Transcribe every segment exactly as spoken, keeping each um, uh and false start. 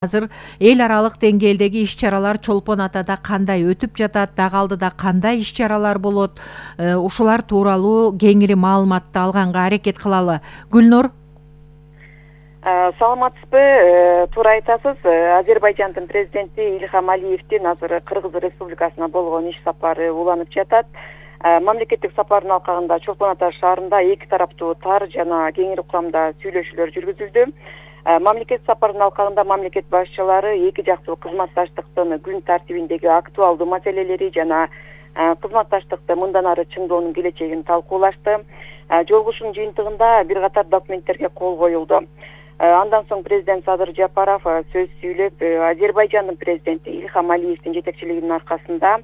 Азыр эл аралык деңгээлдеги иш-чаралар Чолпон Атада кандай өтүп жатат, дагы алдыда кандай иш-чаралар болот, ушулар тууралуу кеңири маалыматты алганга аракет кылалы. Гүлнур. Саламатсызбы? Туура айтасыз. Азербайжандын президенти Ильхам Алиевдин азыр Кыргыз Республикасына болгон иш сапары уланып жатат. Мамлекеттик сапардын алкагында Чолпон Ата шаарында эки тараптуу тар жана кеңири курамда сүйлөшүүлөр жүргүзүлдү. Мамлекет сапардын алкагында мамлекет башчылары эки жактуу кызматташтыктын күн тартибиндеги актуалдуу маселелери жана кызматташтыкты мындан ары чыңдоонун келечегин талкуулашты. Жолугушуунун жыйынтыгында бир катар документтерге кол коюлду. Андан соң президент Садыр Жапаров сөз сүйлөп, Азербайжандын президенти Ильхам Алиевдин жетекчилигинин аркасында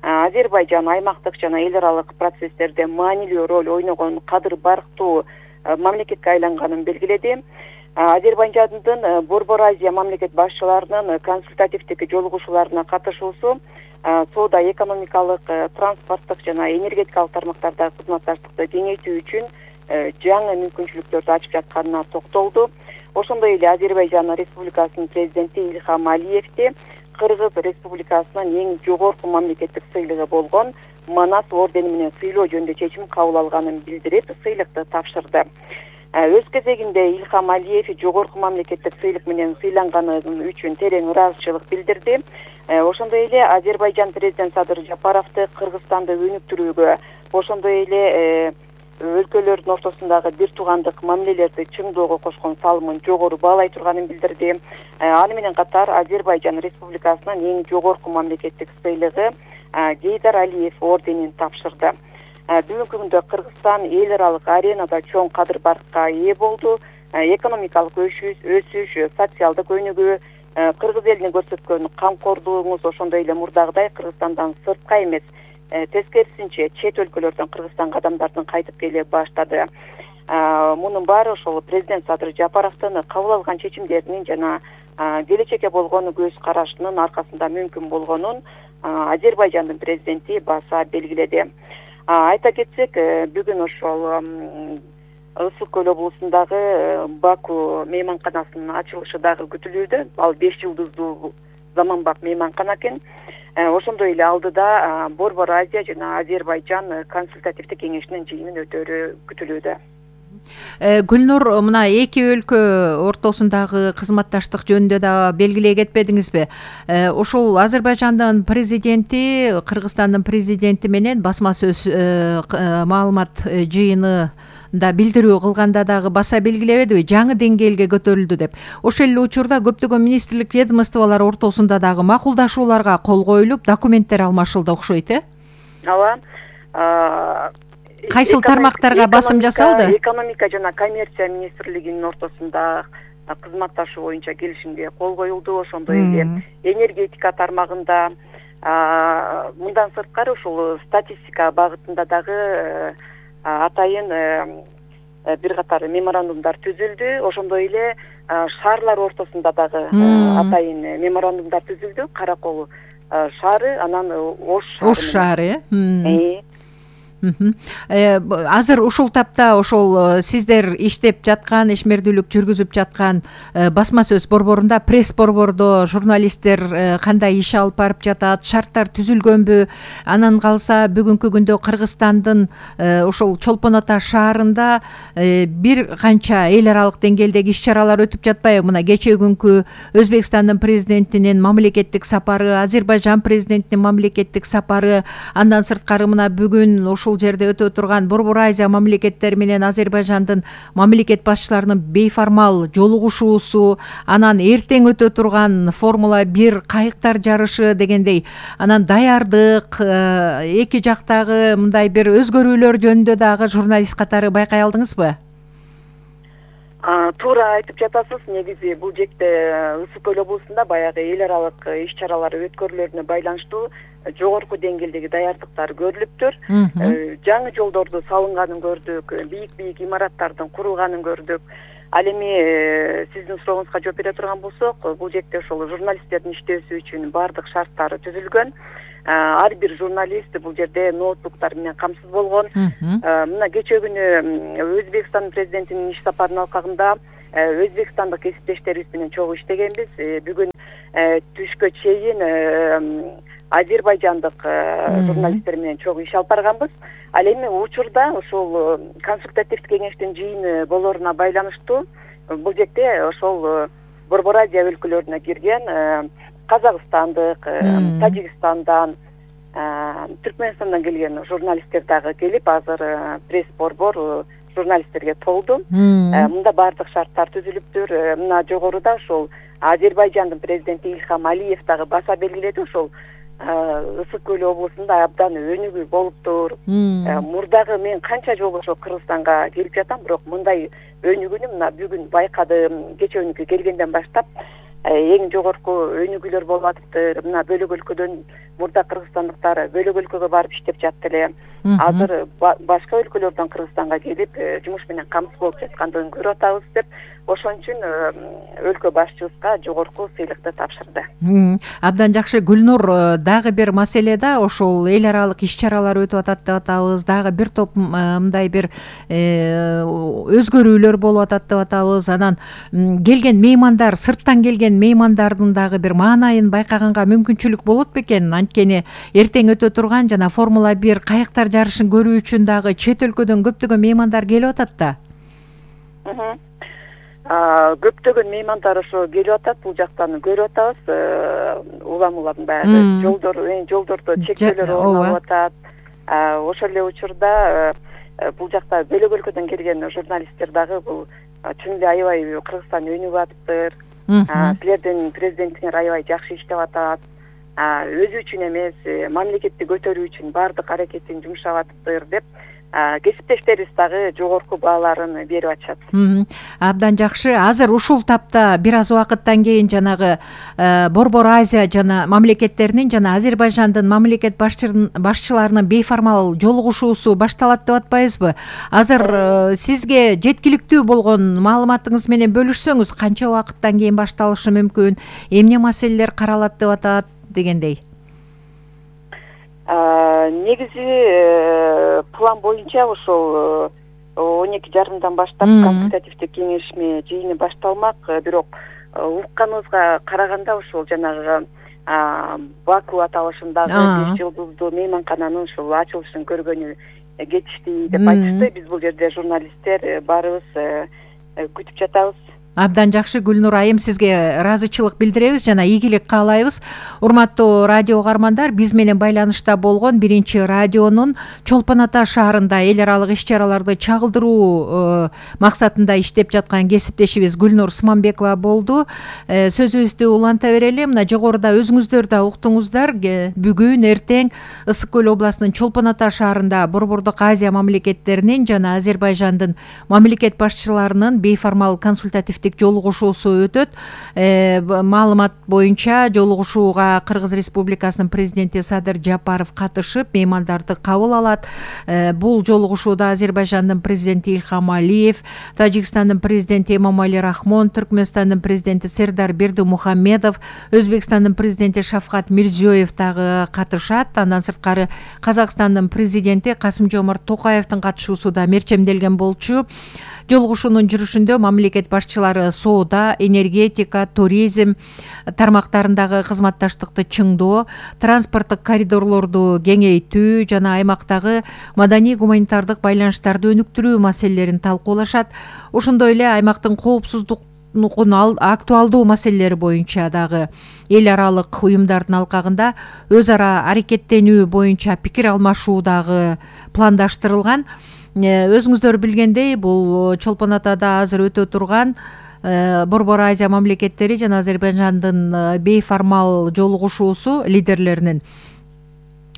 Азербайжан аймактык жана эл аралык процесстерде маанилүү роль ойногон кадыр барктуу мамлекетке айланганын белгиледи. Азербайжандын Борбор Азия мамлекет башчыларынын консультативдик жолугушууларына катышуусу соода экономикалык, транспорттук жана энергетикалык тармактардагы кызматташтыкты кеңейтүү үчүн жаңы мүмкүнчүлүктөрдү ачып жатканына токтолду. Ошондой эле Азербайжан Республикасынын президенти Ильхам Алиевди Кыргыз Республикасынын эң жогорку мамлекеттик сыйлыгы болгон Манас ордени менен сыйлоо жөнүндө чечим кабыл алганын билдирип, сыйлыкты тапшырды. Өз кезегинде Ильхам Алиев жогорку мамлекеттик сыйлык менен сыйланганы үчүн терең ыраазычылык билдирди. Ошондой эле Азербайжан президент Садыр Жапаровду Кыргызстанды өнүктүрүүгө, ошондой эле өлкөлөрдүн ортосундагы бир туугандык мамилелерди чыңдоого кошкон салымын жогору баалай турганын билдирди. Аны менен катар Азербайжан Республикасынын эң жогорку мамлекеттик сыйлыгы Гейдар Алиев орденин тапшырды. Бүгүнкү күндө Кыргызстан эл аралык аренада чоң кадыр баркка ээ болду. Экономикалык өсүш, социалдык өнүгүү, Кыргыз элине көрсөткөн камкордугуңуз ошондой эле мурдагыдай Кыргызстандан сыртка эмес, тескерисинче чет өлкөлөрдөн Кыргызстанга адамдардын кайтып келе баштады. Мунун баары ошол президент Садыр Жапаровдун кабыл алган чечимдеринин жана келечекке болгон көз карашынын аркасында мүмкүн болгонун Азербайжандын президенти баса белгиледи. Айта кетсек, бүгүн ошол Ысык көл облусундагы Баку мейманканасынын ачылышы дагы күтүлүүдө. Ал беш жылдыздуу заманбап мейманкана экен. Ошондой эле алдыда Борбор Азия жана Азербайжан консультативдик кеңешинин жыйынын өтөрү күтүлүүдө. Гүлнур, мына эки өлкө ортосундагы кызматташтык жөнүндө да белгилей кетпедиңизби? Ушул Азербайжандын президенти Кыргызстандын президенти менен басма сөз маалымат жыйыны да билдирүү кылганда дагы баса белгилебедиби, жаңы деңгээлге көтөрүлдү деп. Ошол эле учурда көптөгөн министрлик ведомстволор ортосунда дагы макулдашууларга кол коюлуп, документтер алмашылды окшойт, э? Ооба. Кайсыл тармактарга басым жасалды? Экономика жана коммерция министрлигинин ортосунда кызматташуу боюнча келишимге кол коюлду. Ошондой эле энергетика тармагында, мындан сырткары ушул статистика багытында дагы атайын бир катар меморандумдар түзүлдү. Ошондой эле шаарлар ортосунда дагы атайын меморандумдар түзүлдү. Каракол шаары, анан Ош шаары. Ош шаары, э? Азыр ушул тапта ошол сиздер иштеп жаткан, ишмердүүлүк жүргүзүп жаткан басма сөз борборунда, пресс борбордо журналисттер кандай иш алып барып жатат, шарттар түзүлгөнбү? Анан калса бүгүнкү күндө Кыргызстандын ошол Чолпон Ата шаарында бир канча эл аралык деңгээлдеги иш-чаралар өтүп жатпайбы? Мына кечээ күнкү Өзбекстандын президентинин мамлекеттик сапары, Азербайжан президентинин мамлекеттик сапары, андан сырткары мына бүгүн ушул жерде өтө турган Борбор Азия мамлекеттери менен Азербайжандын мамлекет башчыларынын бейформал жолугушуусу, анан эртең өтө турган Формула бир кайыктар жарышы дегендей, анан даярдык, эки жактагы мындай бир өзгөрүүлөр жөнүндө дагы журналист катары байкай алдыңызбы? Туура айтып жатасыз. Негизи бул жекте Ысык көл облусунда баягы эл аралык иш-чаралар өткөрүлөрүнө байланыштуу жогорку деңгээлдеги даярдыктар көрүлүптүр. Жаңы жолдорду салынганын көрдүк, бийик-бийик имараттардын курулганын көрдүк. Ал эми сиздин сурооңузга жооп бере турган болсок, бул жекте ошол журналисттердин иштөөсү үчүн баардык шарттары түзүлгөн. Ар бир журналист бул жерде ноутбуктар менен камсыз болгон. Мына кечээ күнү Өзбекстан президентинин иш сапарынын алкагында өзбекстандык кесиптештерибиз менен чогуу иштегенбиз. Бүгүн түшкө чейин азербайжандык журналисттер менен чогуу иш алып барганбыз. Ал эми учурда ошол консультативдик кеңештин жыйыны болоруна байланыштуу бул жерде ошол Борбор Азия өлкөлөрүнө кирген Казакстандык, Тажикстандан, Түркмөнстандан келген журналисттер дагы келип, азыр пресс-борбор журналисттерге толду. Мында баардык шарттар түзүлүптүр. Мына жогоруда ошол Азербайжандын президенти Ильхам Алиев дагы баса белгиледи, ошол Ысык көл облусунда абдан өнүгүү болуптур. Мурдагы мен канча жолу ошо Кыргызстанга келип жатам, бирок мындай өнүгүүнү мына бүгүн байкадым. Кечээ келгенден баштап эң жогорку өнүгүүлөр болуп атыптыр. Мына бөлөк өлкөдөн мурда кыргызстандыктар бөлөк өлкөгө барып иштеп жатты эле. Азыр башка өлкөлөрдөн Кыргызстанга келип жумуш менен камсыз болуп жаткандыгын көрүп атабыз деп, ошон үчүн өлкө башчыбызга жогорку сыйлыкты тапшырды. Абдан жакшы. Гүлнур, дагы бир маселе да ошол эл аралык иш-чаралар өтүп атат деп атабыз. Дагы бир топ мындай бир өзгөрүүлөр болуп атат деп атабыз. Анан келген меймандар, сырттан келген меймандардын дагы бир маанайын байкаганга мүмкүнчүлүк болот бекен? Анткени эртең өтө турган жана Формула бир кайыктар жарышын көрүү үчүн дагы чет өлкөдөн көптөгөн меймандар келип атат да. Көптөгөн меймандар ошо келип атат, бул жактан көрүп атабыз. Улам улам баягы жолдор, жолдордо чектөөлөр орнолуп атат. Ошол эле учурда бул жакта бөлөк өлкөдөн келген журналисттер дагы бул чын эле аябай Кыргызстан өнүгүп атыптыр. Силердин президентиңер аябай жакшы иштеп атат. Өзү үчүн эмес, мамлекетти көтөрүү үчүн баардык аракетин жумшап атыптыр деп кесиптештерибиз дагы жогорку бааларын берип атышат. Абдан жакшы. Азыр ушул тапта бир аз убакыттан кийин жанагы Борбор Азия жана мамлекеттеринин жана Азербайжандын мамлекет башчыларынын бейформал жолугушуусу башталат деп атпайбызбы? Азыр сизге жеткиликтүү болгон маалыматыңыз менен бөлүшсөңүз, канча убакыттан кийин башталышы мүмкүн, эмне маселелер каралат деп атат дегендей? Негизи план боюнча ошол он эки жарымдан баштап консультативдик кеңешме жыйыны башталмак. Бирок укканыбызга караганда ошол жанагы Баку аталышындагы беш жылдыздуу мейманкананын ушул ачылышын көргөнү кетишти деп айтышты. Биз бул жерде журналисттер баарыбыз күтүп жатабыз. Абдан жакшы. Гүлнур айым, сизге ыраазычылык билдиребиз жана ийгилик каалайбыз. Урматтуу радио угармандар, биз менен байланышта болгон биринчи радионун Чолпон Ата шаарында эл аралык иш-чараларды чагылдыруу максатында иштеп жаткан кесиптешибиз Гүлнур Смамбекова болду. Сөзүбүздү уланта берели. Мына жогоруда өзүңүздөр да уктуңуздар. Бүгүн эртең Ысык көл областынын Чолпон Ата шаарында Борбордук Азия мамлекеттеринин жана Азербайжандын мамлекет башчыларынын бейформал консультативдик жолугушуусу өтөт. Маалымат боюнча жолугушууга Кыргыз Республикасынын президенти Садыр Жапаров катышып, меймандарды кабыл алат. Бул жолугушууда Азербайжандын президенти Ильхам Алиев, Тажикстандын президенти Эмомали Рахмон, Түркмөнстандын президенти Сердар Бердимухамедов, Өзбекстандын президенти Шавкат Мирзиёев дагы катышат. Андан сырткары Казакстандын президенти Касым-Жомарт Токаевдин катышуусу да мерчемделген болчу. Жолугушуунун жүрүшүндө мамлекет башчылары соода, энергетика, туризм тармактарындагы кызматташтыкты чыңдоо, транспорттук коридорлорду кеңейтүү жана аймактагы маданий гуманитардык байланыштарды өнүктүрүү маселелерин талкуулашат. Ошондой эле аймактын коопсуздук актуалдуу маселелери боюнча дагы эл аралык уюмдардын алкагында өз ара аракеттенүү боюнча пикир алмашуу дагы пландаштырылган. Өзүңүздөр билгендей, бул Чолпон Атада азыр өтө турган Борбор Азия мамлекеттери жана Азербайжандын бейформал жолугушуусу лидерлеринин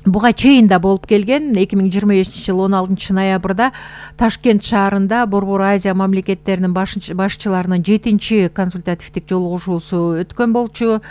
буга чейин да болуп келген. эки миң жыйырма бешинчи жыл он алтынчы ноябрда Ташкент шаарында Борбор Азия мамлекеттеринин башчыларынын жетинчи консультативдик жолугушуусу өткөн болчу.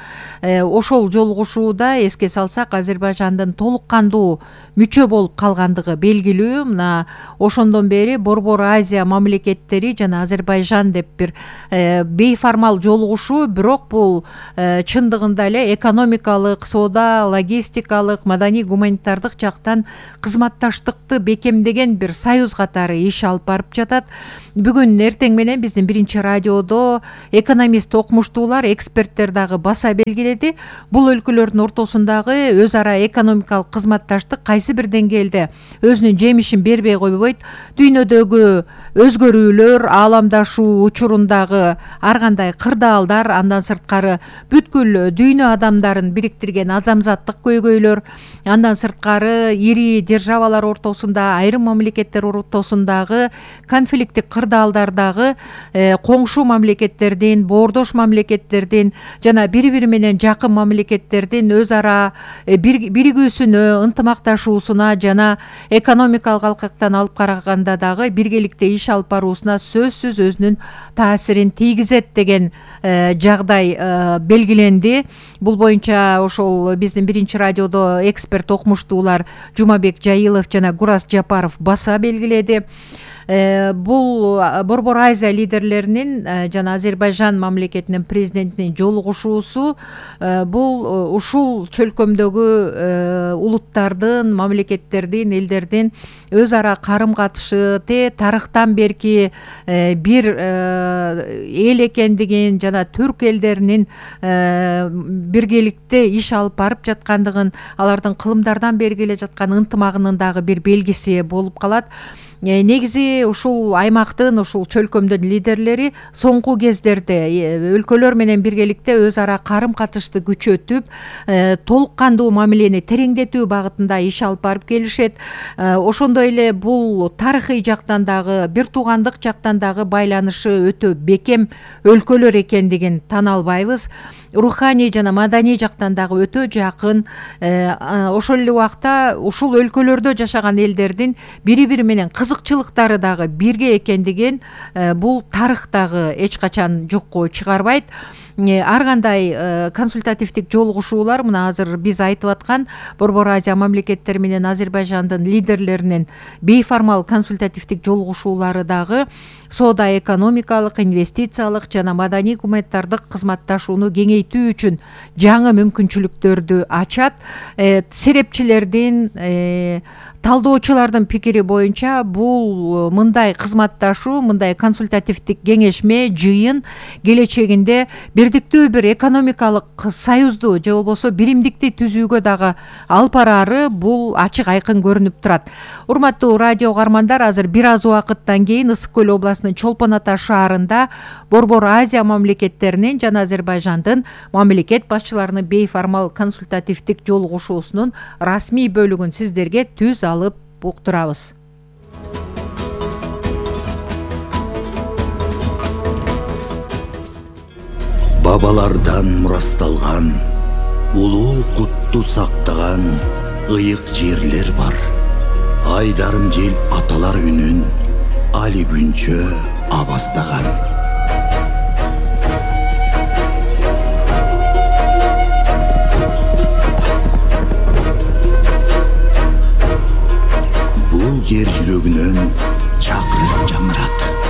Ошол жолугушууда эске салсак, Азербайжандын толук кандуу мүчө болуп калгандыгы белгилүү. Мына ошондон бери Борбор Азия мамлекеттери жана Азербайжан деп бир бейформал жолугушуу, бирок бул чындыгында эле экономикалык, соода, логистикалык, маданий гуманитардык гуманитардык жактан кызматташтыкты бекемдеген бир союз катары иш алып барып жатат. Бүгүн эртең менен биздин биринчи радиодо экономист окумуштуулар, эксперттер дагы баса белгиледи. Бул өлкөлөрдүн ортосундагы өз ара экономикалык кызматташтык кайсы бир деңгээлде өзүнүн жемишин бербей койбойт. Дүйнөдөгү өзгөрүүлөр, ааламдашуу учурундагы ар кандай кырдаалдар, андан сырткары бүткүл дүйнө адамдарын бириктирген адамзаттык көйгөйлөр, андан сырткары ири державалар ортосунда, айрым мамлекеттер ортосундагы конфликттик кырдаалдардагы коңшу мамлекеттердин, боордош мамлекеттердин жана бири-бири менен жакын мамлекеттердин өз ара биригүүсүнө, ынтымакташуусуна жана экономикалык алкактан алып караганда дагы биргеликте иш алып баруусуна сөзсүз өзүнүн таасирин тийгизет деген жагдай белгиленди. Бул боюнча ошол биздин биринчи радиодо эксперт окумуштуулар Жумабек Жайылов жана Гурас Жапаров баса белгиледи. Бул Борбор Азия лидерлеринин жана Азербайжан мамлекетинин президентинин жолугушуусу бул ушул чөлкөмдөгү улуттардын, мамлекеттердин, элдердин өз ара карым катышы те тарыхтан берки бир эл экендигин жана түрк элдеринин биргеликте иш алып барып жаткандыгын, алардын кылымдардан бери келе жаткан ынтымагынын дагы бир белгиси болуп калат. Негизи ушул аймактын, ушул чөлкөмдүн лидерлери соңку кездерде өлкөлөр менен биргеликте өз ара карым катышты күчөтүп, толук кандуу мамилени тереңдетүү багытында иш алып барып келишет. Ошондой эле бул тарыхый жактан дагы, бир туугандык жактан дагы байланышы өтө бекем өлкөлөр экендигин тана албайбыз. Руханий жана маданий жактан дагы өтө жакын. Ошол эле убакта ушул өлкөлөрдө жашаган элдердин бири-бири менен кызыкчылыктары дагы бирге экендигин бул тарых дагы эч качан жокко чыгарбайт. Ар кандай консультативдик жолугушуулар, мына азыр биз айтып аткан Борбор Азия мамлекеттери менен Азербайжандын лидерлеринин бейформал консультативдик жолугушуулары дагы соода экономикалык, инвестициялык жана маданий гуманитардык кызматташууну кеңейтүү үчүн жаңы мүмкүнчүлүктөрдү ачат. Серепчилердин, талдоочулардын пикири боюнча бул мындай кызматташуу, мындай консультативдик кеңешме, жыйын келечегинде бирдиктүү бир экономикалык союзду же болбосо биримдикти түзүүгө дагы алып бараары бул ачык айкын көрүнүп турат. Урматтуу радио угармандар, азыр бир аз убакыттан кийин Ысык көл областынын Чолпон Ата шаарында Борбор Азия мамлекеттеринин жана Азербайжандын мамлекет башчыларынын бейформал консультативдик жолугушуусунун расмий бөлүгүн сиздерге түз алып уктурабыз. Бабалардан мурасталган, улуу кутту сактаган ыйык жерлер бар. Айдарым жел аталар үнүн али күнчө абастаган. Бул жер жүрөгүнөн чакырып